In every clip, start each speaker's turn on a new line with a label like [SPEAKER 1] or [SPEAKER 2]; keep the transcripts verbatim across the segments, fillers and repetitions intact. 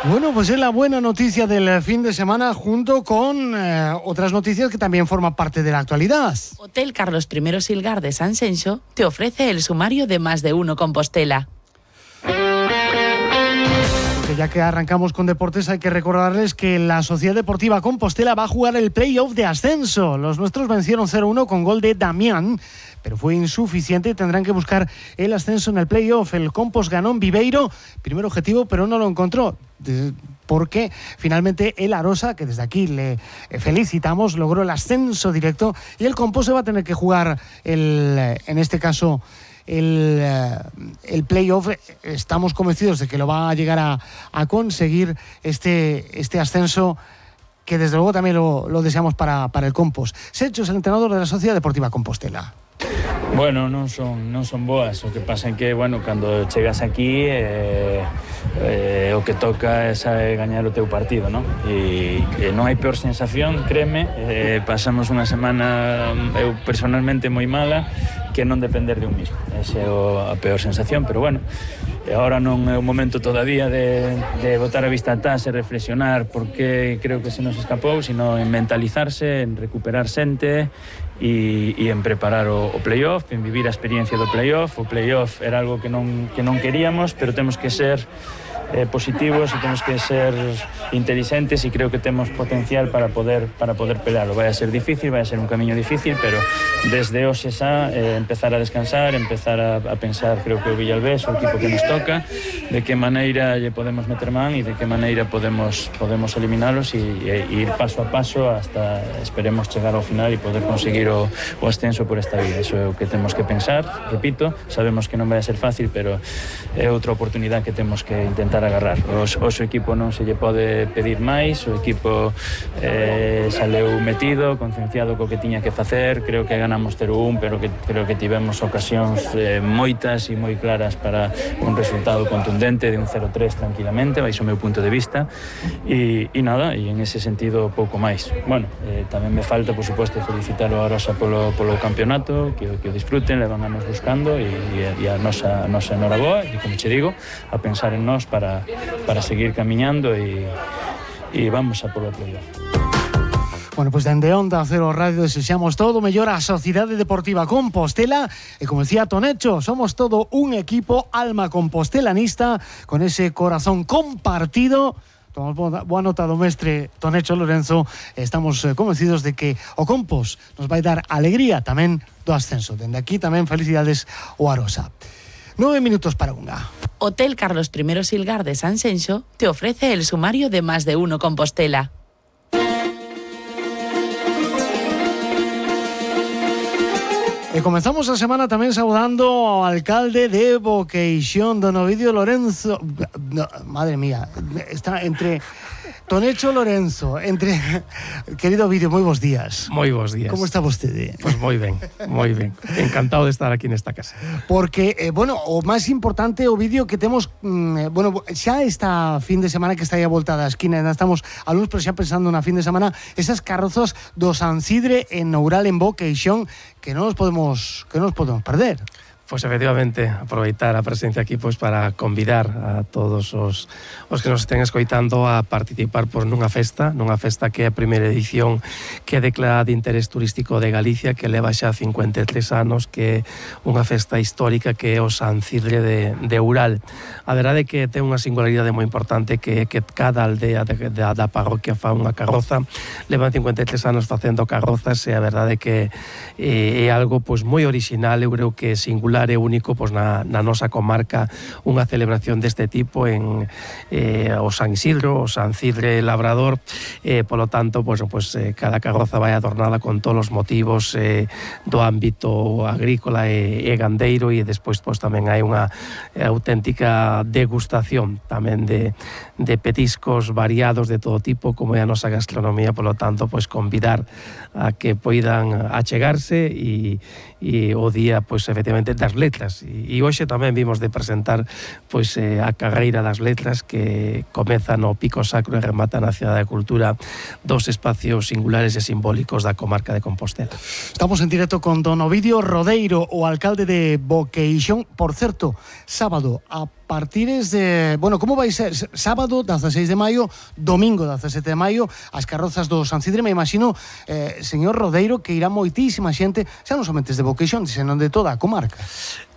[SPEAKER 1] Bueno, pues es la buena noticia del fin de semana junto con eh, otras noticias que también forman parte de la actualidad.
[SPEAKER 2] Hotel Carlos primero Silgar de San Xenxo te ofrece el sumario de Más de Uno Compostela.
[SPEAKER 1] Que ya que arrancamos con deportes, hay que recordarles que la Sociedad Deportiva Compostela va a jugar el play-off de ascenso. Los nuestros vencieron cero uno con gol de Damián, pero fue insuficiente y tendrán que buscar el ascenso en el play-off. El Compos ganó en Viveiro, primer objetivo, pero no lo encontró, porque finalmente el Arosa, que desde aquí le felicitamos, logró el ascenso directo y el Compos se va a tener que jugar, el, en este caso, el, el play-off. Estamos convencidos de que lo va a llegar a, a conseguir este, este ascenso, que desde luego también lo, lo deseamos para, para el Compos. Secho es el entrenador de la Sociedad Deportiva Compostela.
[SPEAKER 3] Bueno, non son, non son boas, o que pasa é que, bueno, cando chegas aquí eh, eh, o que toca é saber gañar o teu partido, non? E, e non hai peor sensación, créeme, eh, pasamos unha semana, eu personalmente moi mala, que non depender de un mismo. Esa é a peor sensación, pero bueno, agora non é o momento todavía de, de botar a vista atrás e reflexionar porque creo que se nos escapou, sino en mentalizarse, en recuperar xente e, e en preparar o, o play-off, en vivir a experiencia do play-off. O play-off era algo que non, que non queríamos, pero temos que ser eh, positivos e temos que ser inteligentes e creo que temos potencial para poder para poder pelearlo. Vai a ser difícil, vai a ser un camiño difícil, pero desde hoxe xa eh, empezar a descansar, empezar a, a pensar, creo que o Villalbés, o equipo que nos toca, de que maneira lle podemos meter man e de que maneira podemos podemos eliminalos e, e, e ir paso a paso hasta esperemos chegar ao final e poder conseguir o, o ascenso por esta vida. Iso é o que temos que pensar, repito, sabemos que non vai a ser fácil, pero é outra oportunidade que temos que intentar agarrar. O, o seu equipo non se lle pode pedir máis, o equipo eh, saleu metido, concienciado co que tiña que facer. Creo que ganamos cero un, pero que creo que tivemos ocasións eh, moitas e moi claras para un resultado contundente de un cero tres tranquilamente, baixo o meu punto de vista e, e nada, e en ese sentido pouco máis. Bueno, eh, tamén me falta, por suposto, felicitar o Arosa polo, polo campeonato, que, que o disfruten, levan anos buscando e, e, e a nosa, a nosa enhoraboa e, como che digo, a pensar en nós para para seguir camiñando e, e vamos a polo play-off.
[SPEAKER 1] Bueno, pues dende Onda Cero Radio desexamos todo mellor a Sociedade Deportiva Compostela e, como decía Tonecho, somos todo un equipo alma compostelanista con ese corazón compartido. Tomamos boa nota do mestre Tonecho Lorenzo. Estamos convencidos de que o Compos nos vai dar alegría tamén do ascenso. Dende aquí tamén felicidades ao Arosa. Nueve minutos para unha.
[SPEAKER 2] Hotel Carlos primero Silgar de San Xenxo te ofrece el sumario de Más de Uno Compostela.
[SPEAKER 1] E comenzamos a semana tamén saudando ao alcalde de Boqueixón, don Ovidio Lorenzo. No, madre mía, está entre Tonecho Lorenzo, entre... Querido Ovidio, moi bons días.
[SPEAKER 4] Moi bons días.
[SPEAKER 1] Como está vostede?
[SPEAKER 4] Pois pues moi ben, moi ben. Encantado de estar aquí nesta casa.
[SPEAKER 1] Porque, eh, bueno, o máis importante, Ovidio, que temos, mm, bueno, xa esta fin de semana que está aí a volta da esquina, ainda estamos a luns, pero xa pensando na fin de semana, esas carrozas do San Cidre en Noural, en Boqueixón, que non nos podemos, que non nos podemos perder.
[SPEAKER 4] Pois efectivamente, aproveitar a presencia aquí pois para convidar a todos os, os que nos estén escoitando a participar pois, nunha festa, nunha festa que é a primeira edición que é declarada de interés turístico de Galicia, que leva xa cincuenta e tres anos, que é unha festa histórica que é o San Cidre de, de Oural. A verdade é que ten unha singularidade moi importante, que é que cada aldea de, de, da parroquia fa unha carroza. Levan cincuenta e tres anos facendo carrozas e a verdade é que é, é algo pois, moi original, eu creo que é singular é único pois, na, na nosa comarca unha celebración deste tipo en eh, o San Isidro, o San Cidre Labrador, eh, polo tanto pois, pois, eh, cada carroza vai adornada con todos os motivos eh, do ámbito agrícola e, e gandeiro, e despois pois, tamén hai unha eh, auténtica degustación tamén de, de petiscos variados de todo tipo, como é a nosa gastronomía. Polo tanto, pois convidar a que poidan achegarse e, e o día, pois efectivamente, das letras. E, e hoxe tamén vimos de presentar pois eh, a carreira das letras que comeza no Pico Sacro e remata na Cidade da Cultura, dos espacios singulares e simbólicos da comarca de Compostela.
[SPEAKER 1] Estamos en directo con don Ovidio Rodeiro, o alcalde de Boqueixón. Por certo, sábado a partires de... Bueno, como vai ser? Sábado, dieciséis de maio, domingo, diecisiete de maio, as carrozas do San Cidre. Me imagino, eh, señor Rodeiro, que irá moitísima xente, xa non somente de Boqueixón, senón de toda a comarca.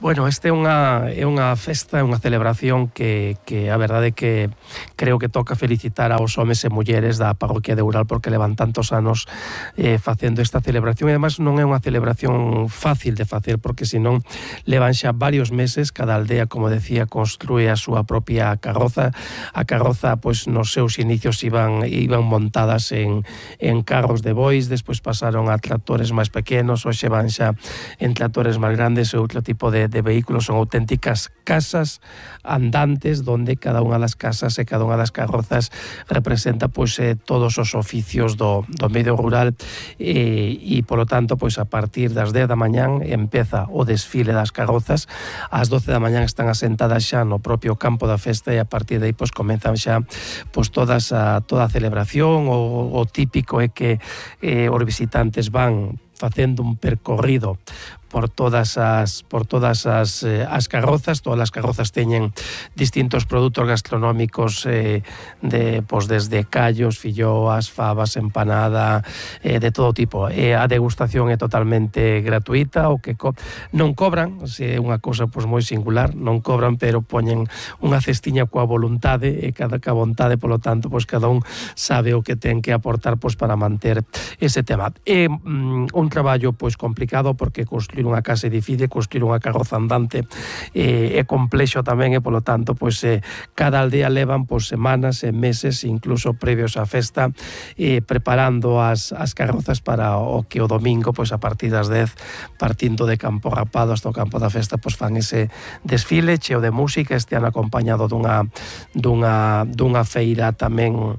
[SPEAKER 4] Bueno, este é unha, é unha festa, é unha celebración que, que a verdade que creo que toca felicitar aos homes e mulleres da parroquia de Ural porque levan tantos anos eh, facendo esta celebración, e además non é unha celebración fácil de facer porque senón levan xa varios meses. Cada aldea, como decía, construe a súa propia carroza. A carroza, pois, nos seus inicios iban, iban montadas en, en carros de bois, despois pasaron a tractores máis pequenos, hoxe van xa en tractores máis grandes e outro tipo de de vehículos. Son auténticas casas andantes donde cada unha das casas e cada unha das carrozas representa pois eh, todos os oficios do, do medio rural e, e polo tanto pois a partir das dez da mañán empeza o desfile das carrozas. Ás doce da mañán están asentadas xa no propio campo da festa e a partir de aí pois comenzan xa pois todas a, toda a celebración. O, o típico é que eh, os visitantes van facendo un percorrido por todas as por todas as, eh, as carrozas. Todas as carrozas teñen distintos produtos gastronómicos eh, de, pues, desde callos, filloas, fabas, empanada, eh, de todo tipo. Eh, a degustación é totalmente gratuita, o que co non cobran, se é unha cousa pues, moi singular, non cobran, pero poñen unha cestiña coa voluntade e cada ca vontade, polo tanto, pues, cada un sabe o que ten que aportar pues, para manter ese tema. É mm, un traballo pues, complicado porque construir unha casa é difícil, construir unha carroza andante eh, é complexo tamén e polo tanto pois, eh, cada aldea levan pois, semanas e meses incluso previos á festa eh, preparando as, as carrozas para o que o domingo pois, a partir das dez partindo de Campo Rapado hasta o campo da festa pois, fan ese desfile cheo de música, este ano acompañado dunha, dunha, dunha feira tamén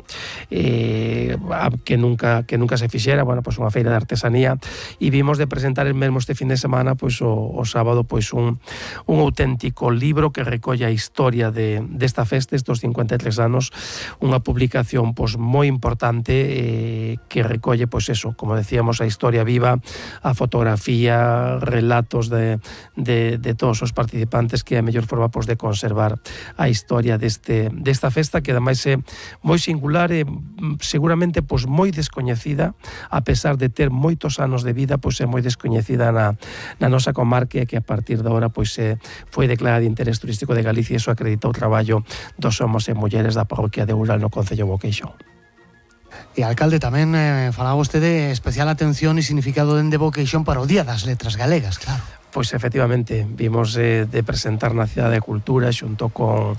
[SPEAKER 4] eh, que, nunca, que nunca se fixera, bueno, pois, unha feira de artesanía, e vimos de presentar el mesmo este fin de semana pois o, o sábado pois un, un auténtico libro que recolle a historia de, desta festa, estos cincuenta e tres anos, unha publicación pois moi importante eh, que recolle pois eso, como decíamos, a historia viva, a fotografía, relatos de, de, de todos os participantes, que é a mellor forma pois, de conservar a historia deste, desta festa que ademais é moi singular e seguramente pois, moi descoñecida, a pesar de ter moitos anos de vida, pois é moi descoñecida na na nosa comarca, que a partir de agora pois, eh, foi declarada de interés turístico de Galicia e iso acredita o traballo dos homos e mulleres da parroquia de Ural no concello de Boqueixón.
[SPEAKER 1] E alcalde, tamén eh, falaba vostede especial atención e significado dende Boqueixón para o Día das Letras Galegas, claro.
[SPEAKER 4] Pois efectivamente, vimos eh, de presentar na Cidade de Cultura xunto con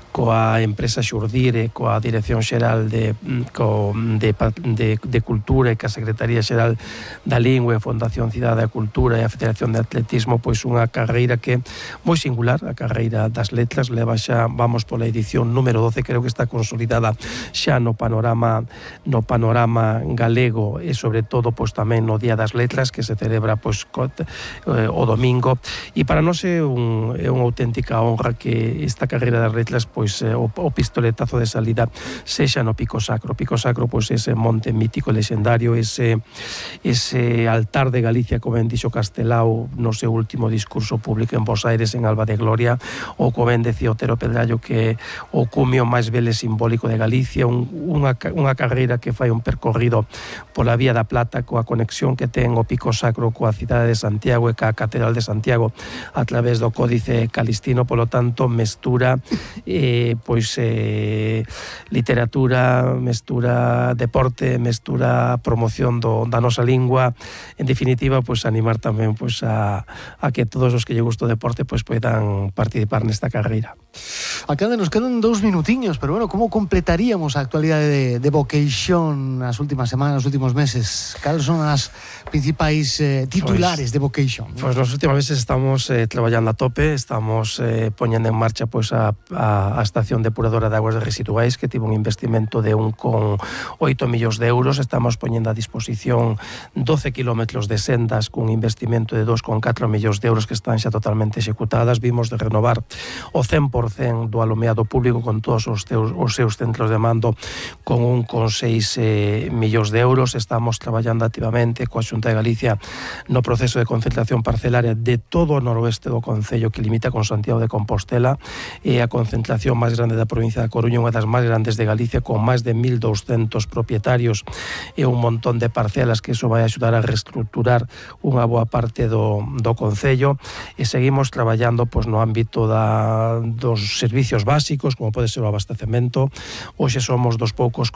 [SPEAKER 4] coa empresa Xurdire, coa Dirección Xeral de, co, de, de, de Cultura e coa Secretaría Xeral da Lingua e a Fundación Cidade da Cultura e a Federación de Atletismo, pois unha carreira que moi singular, a carreira das letras, leva xa, vamos pola edición número doce, creo que está consolidada xa no panorama no panorama galego e sobre todo pois tamén no Día das Letras que se celebra pois co, eh, o domingo, e para nós é, un, é unha auténtica honra que esta carreira das letras pois o, o pistoletazo de salida sexa no Pico Sacro. Pico Sacro pois ese monte mítico legendario, ese ese altar de Galicia, como ben dixo Castelao no seu último discurso público en Bos Aires en Alba de Gloria, ou como ben decía Otero Pedrallo que o cumio máis vele simbólico de Galicia, un, unha, unha carreira que fai un percorrido pola Vía da Plata coa conexión que ten o Pico Sacro coa cidade de Santiago e coa Catedral de Santiago a través do Códice Calistino, polo tanto mestura eh, pois eh, literatura, mestura deporte, mestura promoción do, da nosa lingua, en definitiva pois animar tamén pois a, a que todos os que lle gusta o deporte pois poidan participar nesta carreira.
[SPEAKER 1] Acá nos quedan dous minutiños, pero bueno, como completaríamos a actualidade de, de Vocation nas últimas semanas, nos últimos meses? Cales son as principais eh, titulares pues, de Vocation?
[SPEAKER 4] Pois pues nos últimos meses estamos eh, traballando a tope, estamos eh, poñendo en marcha pois pues, a, a, a estación depuradora de aguas residuais, que tivo un investimento de un con oito millóns de euros. Estamos poñendo a disposición doce kilómetros de sendas cun investimento de dos con catro millóns de euros que están xa totalmente executadas. Vimos de renovar o cen por cen do alumeado público con todos os, teus, os seus centros de mando con un con seis eh, millóns de euros. Estamos traballando activamente coa Xunta de Galicia no proceso de concentración parcelaria de todo o noroeste do concello que limita con Santiago de Compostela, e a concentración máis grande da provincia da Coruña, unha das máis grandes de Galicia, con máis de mil douscentos propietarios e un montón de parcelas, que iso vai axudar a reestructurar unha boa parte do, do concello. E seguimos traballando pois, no ámbito da, dos servicios básicos, como pode ser o abastecemento. Hoxe somos dos poucos